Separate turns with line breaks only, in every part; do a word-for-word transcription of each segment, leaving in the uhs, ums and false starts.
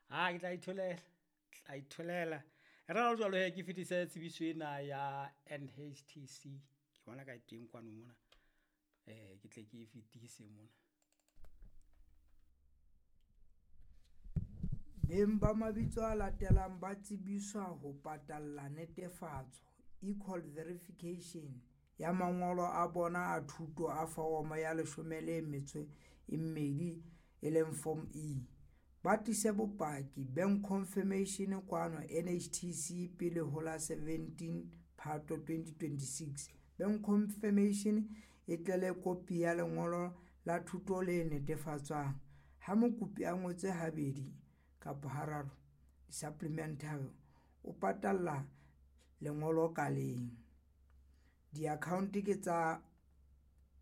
Ha ke tla itholela, tla itholela. E re ha jwalo hee ke fetise tsebiso ena ya N H T C, ke bona ka e teng kwano mona. Ke tle ke e fetise mona.
Beng ba mabitso a latelang ba tsebiswa ho patalla netefatso, e-call verification, ya mangolo a bona a thuto a foromo ya leshome le metso e mmedi e leng Form E. Ba tlise bopaki bank confirmation kwano N H T C pele ho la seventeen Phato twenty twenty-six. Bank confirmation e tle le kopi ya lengolo la thuto le netefatswang. Ha mokopi a ngotse habedi kapa hararo supplementary o patalla lengolo ka leng. Di-account ke tsa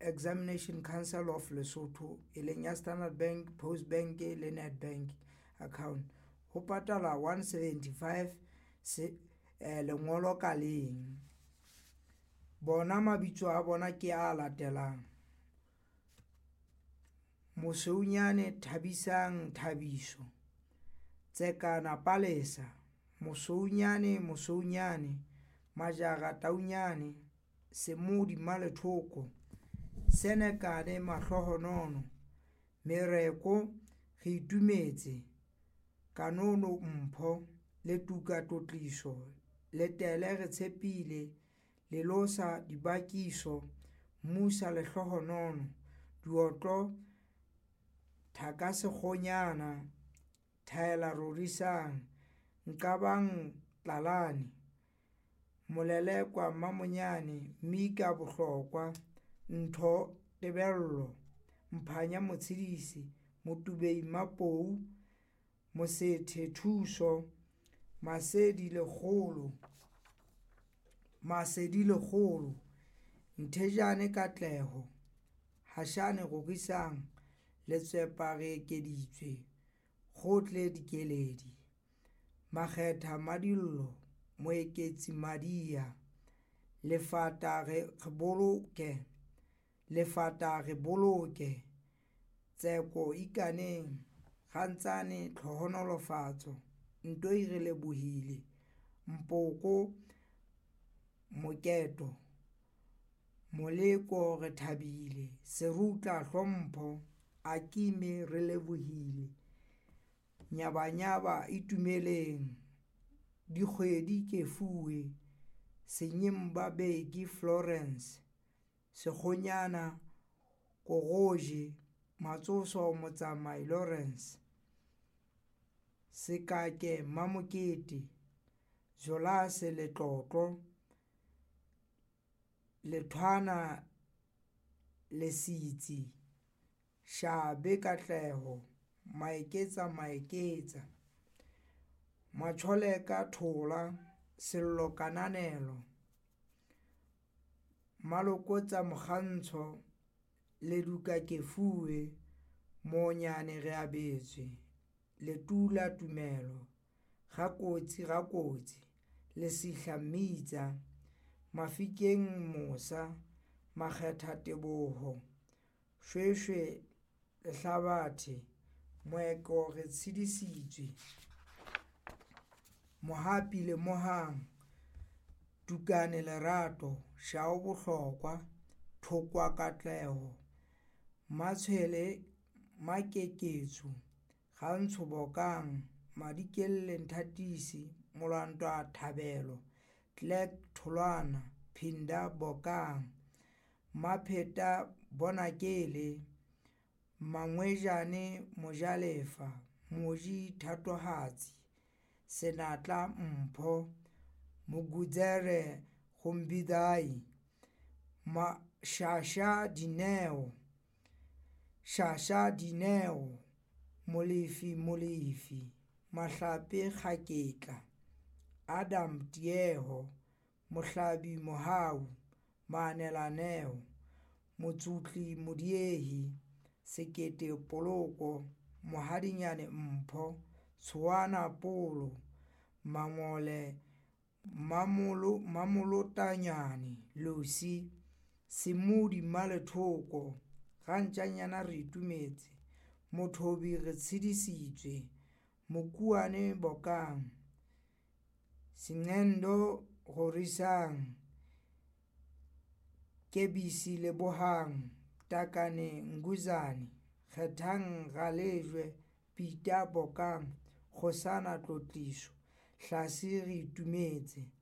Examination Council of Lesotho e leng ya Standard Bank, Post Bank le Nedbank account. Ho patala one seventy-five se eh, lengolo ka leng. Bona mabitso a bona ke a latelang. Mosweunyane Thabisang Thabiso, Tsekana Palesa, Mosweunyane Mosweunyane, Majara Taunyane, Semodi Malethoko, Senekane Mahlohonono, Mereko Re Itumetse, Kanono Mpho, Letuka Tlotliso, Letele Re Tshepile, Lelosa Dibakiso, Musa Lehlohonono, Diotlo Thakasekgonyana, Thaela Rorisang, Nqabang Tlalane, Molelekwa Mamonyane, Mika Bohlokwa, Ntho Tebello, Mphanya Motshedisi, Motubei Mapou, Mosethe Thuso, Masedi Lekgolo, Masedi Lekgolo, Nthejane Katleho, Hashane Rorisang, Letswepa Re Ekeditswe, Kgotle Dikeledi, Makgetha Madillo, Moeketsi Madia, Lefata Re Boloke, Lefata Re Boloke, Tseko Ikaneng, Rantsane Tlhohonolofatso, Ntoi Re Lebohile, Mpoko Moketo, Moleko Re Thabile, Serutla Hlompho, Akime Re Lebohile, Nyabanyaba Itumeleng, Dikgwedi Kefuwe, Senyemba Beki Florence, Sekgonyana Koroje, Matsoso Motsamai Lawrence, Sekake Mamokete, Jolase Letlotlo, Lethwana Lesitsi, Shabe Katleho, Maeketsa Maeketsa, Macholeka Thola, Sello Kananelo, Malokotsa Mokgantsho, Leduka Kefuwe, Monyane Reabetswe, Letula Tumelo, Rakotsi Rakotsi, Lesihla Mmitsa, Mafikeng Mosa, Makgetha Teboho, Shweshwe Lehlabathe, Moeko Re Tshedisitswe, Mohapi Lemohang, Tukane Lerato, Shao Bohlokwa, Thokwa Katleho, Matshwele Makeketso, Rantsho Bokang, Madikelle Nthatisi, Molwantwa Thabelo, Clerk Tholwana, Phinda Bokang, Mapheta Bonakele, Mangwejane Mojalefa, Moji Thatohatsi, Senatla Mpho, Mogudzere Gombidai, Mashasha Dineo, Shasha Dineo, Molefi Molefi, Mahlape Kgaketla, Adam Tieho, Mohlabi Mohau, Maanela Neo, Motsutli Modiehi, Sekete Poloko, Mohadinyane Mpho, Tshoana Polo, Mangole Mamolo Mamolotanyane Lucy, Semodi Malethoko, Rantjanyana Re Itumetse, Mothobi Retshidisitswe, Mokuane Bokang, Sengendo Rorisang, Kebisi Lebohang, Takane Nguzane, Kgethang Ralejwe, Peter Bokang, Kgosana Tlotliso, Hlase Reitumetse.